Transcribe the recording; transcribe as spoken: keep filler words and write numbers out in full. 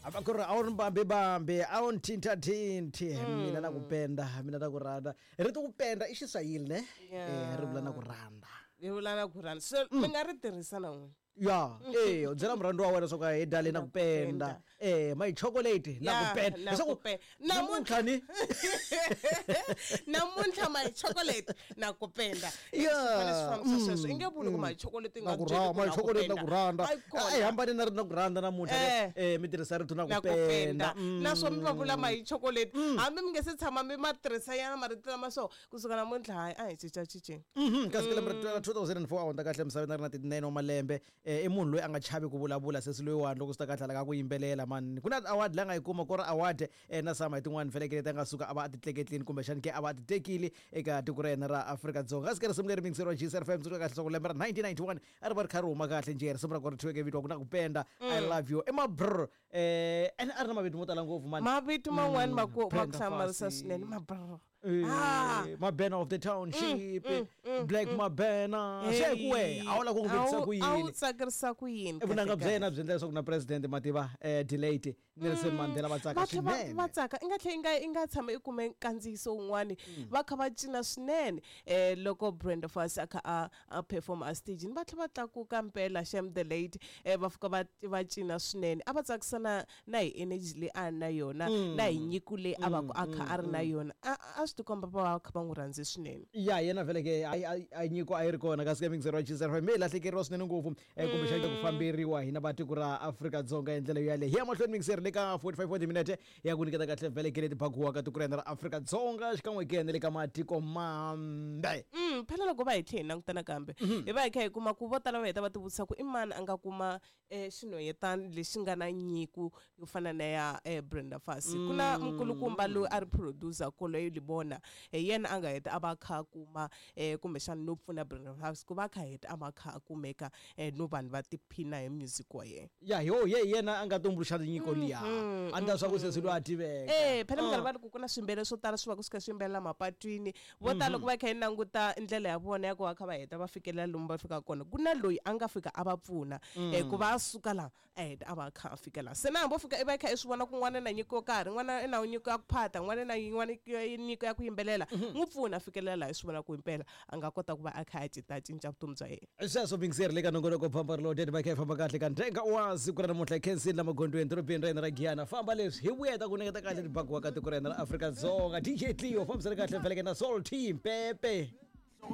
A ku ri a wu ri bambi a wu ni thintathinthi mina na ku penda mina na ku rhandza rito ku penda i xiswahili ne Yeah. eh ri vula na ku rhandza ri vula na ku rhandza so mi nga ri tirhisa na n'wina ya eh u byela murhandzi wa wena swa ku hi dale na ku penda eh my chocolate na ku Yeah, penda na leswaku ku penda. namuntlha ni namuntlha my chocolate na ku penda Yeah. Swi fambisa sweswo i nge vuli ku my chocolate i na nga ku byeli rha ku my na ku chocolate na penda. ku rhandza Ayi kona. a yi hambane na ri na ku rhandza namuntlha Eh. eh mi tirhisa rito na ku na ku penda penda naswo mi va vula my chocolate hambi mi nge se tshama mi ma tirhisa yana marito lama so kusuka namuntlha hayi a hi cincacinceni Mhm, kasi ka lembe ra two thousand and four a hundza kahle emisaveni a ri na thirty-nine wa malembe eh, i munhu loyi a nga chavi ku vulavula sesi loyiwani loko swi ta kahle ka ku yimbelela mani ku na award leyi a nga yi kuma ku ri award eh, na sama hi tin'wani felekele ti a nga suka a va a ti tleketlini kumbexani ke a va a ti tekile eka tiko ra yena ra Afrika-Dzonga kasi ka risimu leri mingiseriwa G S F M tsundzuka kahle leswaku lembe ra nineteen ninety-one a ri va ri kha ri huma kahle njhe risimu ra kona ri thyiweke vito wa ku na ku penda I love you i mabrr eh ene a ri na mavito mo tala ngopfu mani mavito man'wani ma ku ma ku Brenda hlamarisa Fassie. swinene mabrr Eh, Ah. Mabena of the township Black Mabena se ku we a wu lava ku n'wi vitisa ku a wu yini tsakirisa ku yini vunanga kahle bya yena byi endla leswaku na president mativa eh delayed Nelson Mandela va tsaka va tlhe va swinene va tsaka i nga tlhe i nga i nga tshama i kume nkandziyiso wun'wani va kha va cina swinene um loko Brenda Fassie a kha a a perform a stagini va tlhe va tlakuka mpela shem the late um va fika va va cina swinene a va tsakisa na na hi energy leyi a ri na yona na hi nyiko leyi a va ku a kha a ri na yona a a swi tikomba va va kha va n'wi rhandze swinene ya yena vhele ke a a- a nyiko a yi ri kona kasi ka mingisero wa G S F M mi lahlekeriwa swinene ngopfu eh, kumbexana ku famberiwa hina va tiko ra Afrika-Dzonga hi ndlela yaleyo hi ya mahlweni mingiseri le ka forty-five wa timinete ya ku nyiketa kahle vhele ke leti bakiwaka tiko ra hina ra Afrika-Dzonga xikan'we ke na le ka matiko mambe Mm, phela loko va hi tlhe hi languta nakambe hi va hi kha hi kuma ku vo tala va heta va ti vutisa ku i mani a nga kuma um xinhwanyetana lexi nga na nyiko yo fana na ya um Brenda Fassie ku na nkulukumba loyi a ri producer Koloyi Libona hi yena a nga heta a va a kha a kuma um kumbexana no pfuna Brenda Fassie ku va a kha heta a va a kha a kumeka um no vanhu va tiphina hi music wa yena ya yo ye yena a nga tumbuluxa nyiko liya a ndla swa ku sesi loyi a tiveka Eh phela minkarhi va ri ku ku na swimbele swo tala swi va ku swi kha swi yimbelela mapatwini vo tala loko va kha yi languta ndlela ya vona ya ku va kha va heta va fikelela lomu va fikaka kona ku na loyi a nga fika a va pfuna eh ku va a suka laha a heta a va a kha a fika laha se na hambi o fika i va i kha i swi vona ku n'wana na nyiko yo karhi n'wana i na nyiko ya ku phata n'wana na yin'wana nyiko ya ku yimbelela n'wi pfuna a fikelela laha i swi vona ku himpela a nga kota ku va a kha a cinca cinca vutomi bya yena sweswo mingiseri le ka nongonoko phampa ri va kha hi famba kahle ka ndzhenga wa siku ra namuntlha hi khensini la magondweni dorobeni ra hina ra Giyani famba leswi hi vuya hi ta ku nyiketa kahle tibakiwa ka tiko ra hina ra Afrika-Dzonga D J Cleo fambisani kahle feleke na Soul Team pepe.